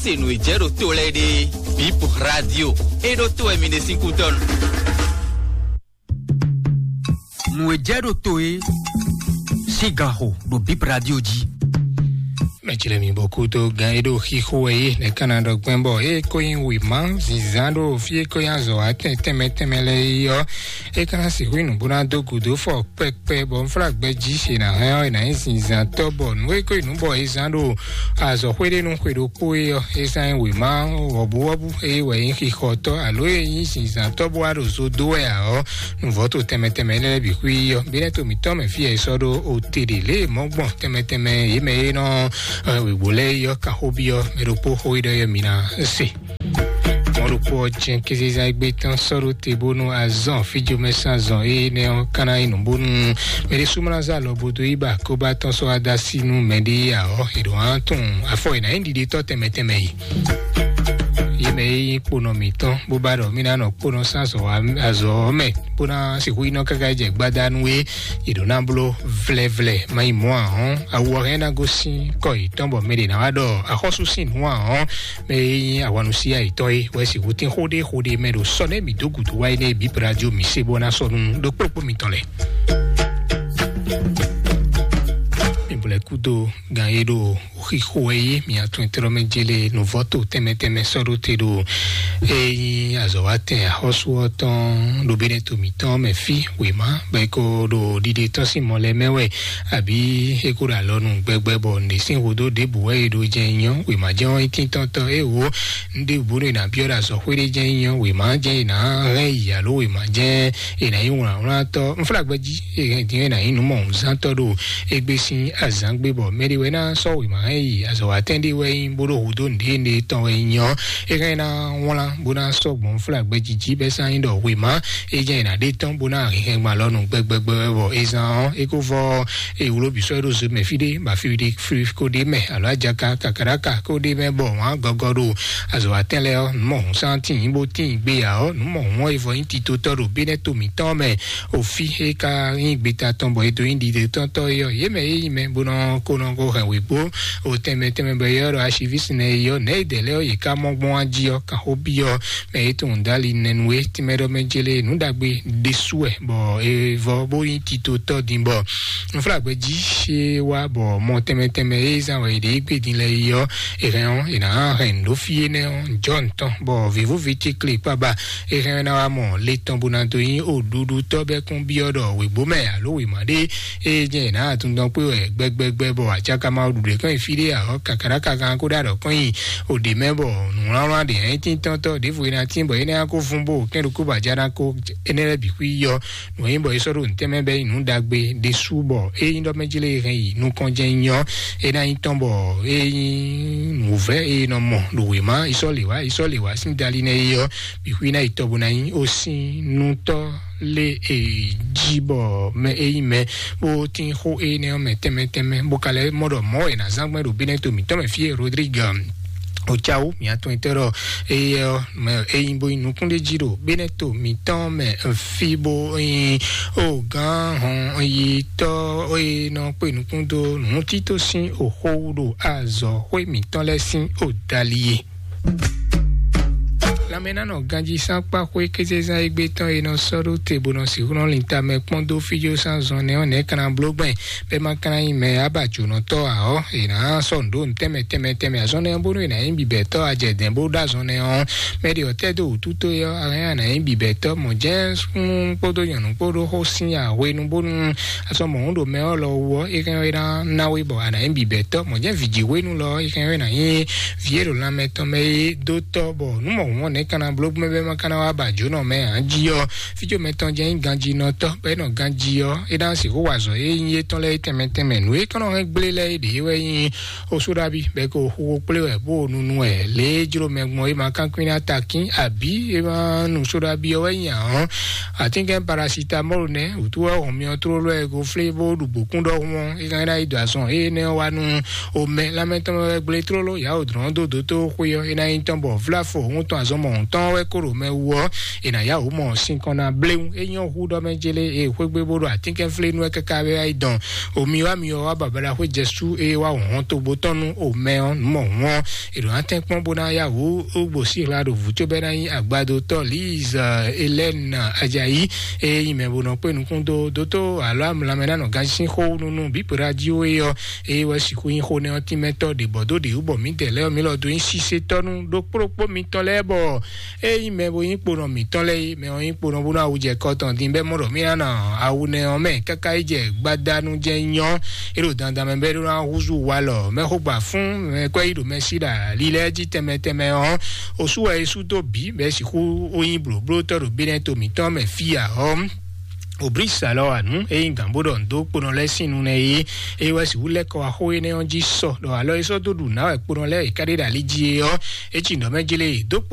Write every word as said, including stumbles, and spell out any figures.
Se nǔ e jɛ ɖo to lɛ́ɛ ɖe, Bip Radio, e ɖo to wɛ mi ɖe sín kútɔ́ nu. Nǔ e jɛ ɖo to e sín gan xo ɖo Bip Radio jí. Mɛjlɛ mi bɔ kúdó gan e ɖo xixo wɛ é nɛ́ ka ná ɖɔ gbɛn bɔ é ko nyi wěma zǐnzán ɖo fí e ko nyi azɔ̌ wá tɛn tɛnmɛ tɛnmɛ lɛ́ɛ é ɔ́, é ka ná sixú nǔ bó ná dó gǔdo fɔ kpɛkpɛ bɔ un flá gbɛ jí se ná hɛn ɔ́, è nǎ nyí zǐnzántɔ́ bɔ nǔ e ko nyí nǔ bɔ è zán ɖo azɔ̌xwé ɖé nú xwe ɖokpó é ɔ́, é zán nyí wěma wɔ̌buwɔ́bú é wɛ nyí xixɔtɔ́ alo é nyí zǐnzántɔ́ bó wá ɖo zo dó wɛ ǎ ɔ́, nǔvɔ́ to tɛnmɛ tɛnmɛ énɛ́ lɛ́ɛ bǐ xwí ɔ́, bí nɛ́ to mǐtɔn mɛ fí e è sɔ́ ɖó ote ɖě lě e mɔ̌ gbɔn tɛnmɛ tɛnmɛ yě mɛ e nɔ wěwǒ lɛ́ɛ é ɔ́, kan xó byɔ́ mɛ ɖokpó xó e ɖɔ é ɔ́, mi ná se. Mɔ̌ ɖokpó ɔ́ jɛ́n kézezán égbé tɔn sɔ́ ɖó te bónú azɔn fíjomɛ sín azɔn énɛ́ ɔ́ ka ná nyí nǔ bónú mɛ ɖésú ma ná zé alɔ bo dó yí ba kóbá tɔn sɔ́ wá dó así nú mɛɖé ǎ ɔ́, è ɖǒ ná tunwun afɔ è nǎ nyí ɖiɖetɔ́ tɛnmɛ tɛnmɛ yi. Yě mɛ e nyí kponɔ mǐtɔn bó ba ɖɔ mí ná nɔ kponɔ sín azɔ̌ ɔ́ mɛ bó ná sixú yi nɔ káká jɛ gbadanu é, è ɖǒ ná bló vlɛvlɛ má nyí mɔ̌ ǎ hɔ́n, awu ɔ́ hɛn ná gosín kɔ yětɔn bɔ mɛ ɖě ná wá ɖɔ axɔ́sú sín nǔ ǎ hɔ́n. Mɛ e nyí ahwanúsíyá yětɔn é wɛ sixú tín xó ɖé xó ɖé mɛ ɖo sɔ́ nɛ́ mǐ dó gǔdo wá énɛ́ bǐ radio mǐ se bó ná sɔ́ nú ɖokpóɖokpó mitɔn lɛ́ɛ. Mi blɛ́ kúdó gan e ɖo xixo wɛ yí mǐ atún etɔ́ mɛ jélé nǔvɔ́ to tɛnmɛ tɛnmɛ sɔ́ ɖó te ɖo e nyí azɔ̌wátɛn axɔ́sú ɔ́ tɔn ɖo bínɛ́ to mǐtɔn mɛ fí wěma bɔ é ko ɖo ɖiɖe tɔn sín mɔ lɛ́ɛ mɛ wɛ. Àbí é kó ɖo alɔ nú gbɛgbɛ bɔ nǔɖé sín hudó ɖěbǔ wɛ è ɖo jɛ nyɔ wěma jɛ́n ɔ́ nyí tíntɔ́ntɔ́ é wǒ nǔɖé bǔ ɖo è nǎ byɔ́ ɖo azɔ̌xwé ɖé jɛ́n nyɔ wěma jɛ́n è nǎ hɛn yi alo wěma jɛ́n è nǎ nyí wlǎnwlántɔ́. Nflágbɛ́ jí è hɛn din è nǎ nyí nǔmɔhunzántɔ́ ɖo égbé sín azǎngbe bɔ mɛ ɖé wɛ ná sɔ́ wěma hɛn yi azɔ̌watɛ́n ɖé wɛ nyí bó ɖo hudó nǔɖé nǔɖé tɔn wɛ nyí ɔ́, é hɛn ná wlán bó ná sɔ́ gbɔn nflágbɛ́ jí jí bɛ́ sán nyí ɖɔ wěma é jɛ́n è nǎ ɖe tɔn bó ná hɛn hɛn gban lɔ nú gbɛgbɛgbɛ wɛ bɔ é zán ɔ́ é kó vɔ ewúlóbisɔ e ɖo zo mɛ fí ɖé ba fí ɖé fí kó ɖé mɛ alo ajaka kakaɖaka kó ɖé mɛ bɔ wǎn gɔgɔ ɖo azɔ̌watɛ́n lɛ́ɛ ɔ́ nǔ mɔhun sán tíin bó tíin gbé ya ɔ́ nǔ mɔhun ɔ́ e vɔ nyí titotɔ́ ɖo bénɛ́ to mǐtɔn mɛ. Ofi e ka nyí gbeta tɔn bɔ e dó nyí ɖiɖe tɔntɔ́ é ɔ́ yě mɛ e nyí mɛ bó nɔ ko nɔ ko hɛn wěgbó o tɛnmɛ tɛnmɛ bɔ é ɔ́ ɖo asivísinɛ é ɔ́ nɛ̌ e dɛ̌ lɛ́ɛ ɔ́ yě ká mɔ gbɔn wá jí ɔ́ kan xó byɔ́ mɛ e tunwun dali nɛnu e tínmɛ ɖɔ mɛ jélé nǔ ɖagbe ɖésú wɛ bɔ e vɔ bó nyí titotɔ́ din bɔ nuflágbɛ jí ṣe wá bɔ mɔ tɛnmɛ tɛnmɛ e zán wɛ è ɖě gbé din lɛ yi ɔ́ è hɛn ɔ́ è nǎ hɛn nǔ ɖó fí énɛ́ ɔ́ jɔ ntɔn bɔ vǐvúvi tíklé kpaba è hɛn ɔ́ ná wá mɔ le tɔn bó ná dó nyí oɖuɖutɔ́ bɛ́ kún byɔ́ ɖɔ wěgbó mɛ alo wěma ɖé e jɛ è nǎ atundɔn kpé wɛ gbɛgbɛgbɛ bɔ acákama ɖuɖu kɔn nyi fí ɖé ǎ ɔ́ kakaɖáka gán kó ɖó aɖɔ̌kɔ́nyi o ɖě mɛ bɔ nǔwlánwlán ɖě nyí tíntɔ́ntɔ́ ɖěvo é ná tín bɔ é ná kó vún bó kɛ́n ɖokpó bɔ ajá ná kó énɛ́ lɛ́ɛ bǐ xwí yɔ nǔ e nyí bɔ é sɔ́ ɖo nǔtɛn mɛ bɛ́ nyí nǔ ɖagbe ɖésú bɔ é nyí ɖɔ mɛ jí lé hɛn yi nukɔn jɛ́n nyí ɔ́ é ná nyí tɔn bɔ é nyí nǔvɛ́ e nɔ mɔ ɖo wěma yi sɔ́ lě wá yi sɔ́ lě wá sín dali nɛ́ é ɔ́ bǐ xwí ná yi tɔ bó ná nyí ó sín nú tɔ́ lé e jí bɔ mɛ e nyí mɛ bó tín xó énɛ́ ɔ́ mɛ tɛnmɛ tɛnmɛ bó ka lɛ́ mɔ ɖɔ mɔ̌ è nǎ zán gbɛn ɖo bínɛ́ to mǐtɔn mɛ fí e Rodrigue Ocawu mǐ atɔn etɛ́ ɖɔ eye ɔ́ mɛ e nyí bó nyí nukúnɖéjí ɖo bínɛ́ to mǐtɔn mɛ fí bó nyí o gán hɔn yi tɔ́ e nɔ kpé nukún dó nǔtíto sín oxó wú ɖo azɔ̌xwé mǐtɔn lɛ́ɛ sín odali e. Lanmɛnánɔ ganjí sán kpá xwé kézezán égbé tɔn e nɔ sɔ́ ɖó te bó nɔ sixú nɔ lin tamɛ kpɔ́n dó fíjó sán zɔn nɛ́ ɔ́ nɛ̌ kana bló gbɛn bɛ́ ma kana nyí mɛ abajǒnɔtɔ́ ǎ ɔ́, è nǎ sɔ́ nǔ ɖó nǔ tɛnmɛ tɛnmɛ tɛnmɛ azɔn nɛ́ ɔ́ bónú è nǎ nyí bǐbɛ̌tɔ́ ajɛdɛ̌n bó ɖó azɔn nɛ́ ɔ́, mɛ ɖě ɔ́ tɛ́ dó wǔtútó é ɔ́, a hɛn a nǎ nyí bǐbɛ̌tɔ́ mɔ̌ jɛ́n súnnu kpódó nyɔ̌nu kpó ɖó xó sín yǎhwenu bónú azɔn mɔ̌hun ɖo mɛ ɔ́ lɔ wú ɔ́, é hɛn é ná ná we bɔ a nǎ nyí bǐbɛ̌tɔ́ mɔ̌ jɛ́n vǐjihwenu lɔ é hɛn é ná nyí vǐ e ɖo lanmɛ tɔn mɛ é dó tɔ́ bɔ nǔ mɔ̌hun ɔ́ nɛ̌ ka ná bló gbɛ́ bɛ́ ma ka ná wá ba jǒnɔ mɛ ǎ jí ɔ́, fíjó mɛtɔn jɛ́n nyí ganjínɔtɔ́ bɔ é nɔ ganjí ɔ́, é ná sixú wa azɔ̌ e nyí étɔn lɛ́ɛ é tɛnmɛ tɛnmɛ. Nǔ e kɔn nɔ hɛn gblé lɛ́ɛ é ɖě wɛ nyí osu ɖabi bɔ é ko xo xo kplé wɛ bó nunu wɛ lě e jló mɛ gbɔn é ma kánkwín ná takín abǐ é ma nu so ɖabi ɔ́ wɛ nyí ǎ ɔ́, atínkɛn parasitamɔ́lu nɛ́ wǔtú wɛ hɔn myɔ tlóló wɛ é ko flé bó ɖu gbǒkún ɖɔhun ɔ́, é ka ná yi dɔ azɔn énɛ́ ɔ́ wá nú omɛ lanmɛ tɔn mɛ wɛ gblé tlóló yǎ wǒ dlɔ́n dó dótó xwé ɔ́, é ná nyí tɔn bɔ vláfo òun tɔn azɔn mɔ hɔn tɔn wɛ kó ɖo mɛ wú ɔ́, è nǎ yá wǔ mɔ sinkɔn ná bléwu. É nyɔ́ hú ɖɔ mɛ jélé, e xwégbé bó ɖo atínkɛnflénu wɛ káká wɛ wá yi dɔn. Omi wá mi ɔ́ wá babala xwé jɛsú, eye wá hɔn togbo tɔn nú omɛ ɔ́ nǔ mɔ hǔn ɔ́, è ɖǒ ná tɛ́nkpɔ́n bó ná yá wǔ ó gbo sí hla ɖo vǔ cóbɛ́ ná nyí agbadotɔ́ Liz Elɛ́n Ajayi, eye nyí mɛ bó nɔ kpé nukún dó dótó alo amlamɛ ná nɔ gansin xó nunu bípo radio é ɔ́, eye wɛ sixú nyí xó nɛ ɔ́ tínmɛtɔ́ ɖě bɔ dó ɖě wú bɔ mǐdɛɛ lɛ́ɛ ɔ́ mǐ lɔ dó nyí sisetɔ́ nú ɖokpóɖokpó mitɔn lɛ́ɛ bɔ eye nyí mɛ bo nyí kponɔ mǐtɔn lɛ́ɛ é, mɛ ɔ́ nyí kponɔ bónú awu jɛ kɔ tɔn din bɛ́ mɔ ɖɔ mí ná nɔ awu nɛ ɔ́ mɛ káká yi jɛ gbadanu jɛ nyɔ é ɖo dandan mɛ bɛ́ ɖó ná húzú walɔ mɛ xógba fún mɛ kɔ́ yi ɖo mɛ sí ɖa lílɛ́ jí tɛnmɛ tɛnmɛ ɔ́. Osú wɛ é sú dó bǐ bɛ́ sixú ó nyí blǒblótɔ́ ɖo bénɛ́ to mǐtɔn mɛ fí ǎ ɔ́. Òblísalɔ anu é nyí gǎn bó ɖɔ nǔ dó kponɔ lɛ́ɛ sín nu nɛ é, é wɛ sixú lɛ́ kɔ wá xó énɛ́ ɔ́ jí sɔ ɖɔ alɔ é sɔ́ dó ɖu nǎ wɛ kponɔ lɛ́ɛ é ká ɖe ɖo ali jí é ɔ́, é ci nǔ ɖɔ mɛ jlé dó kponɔ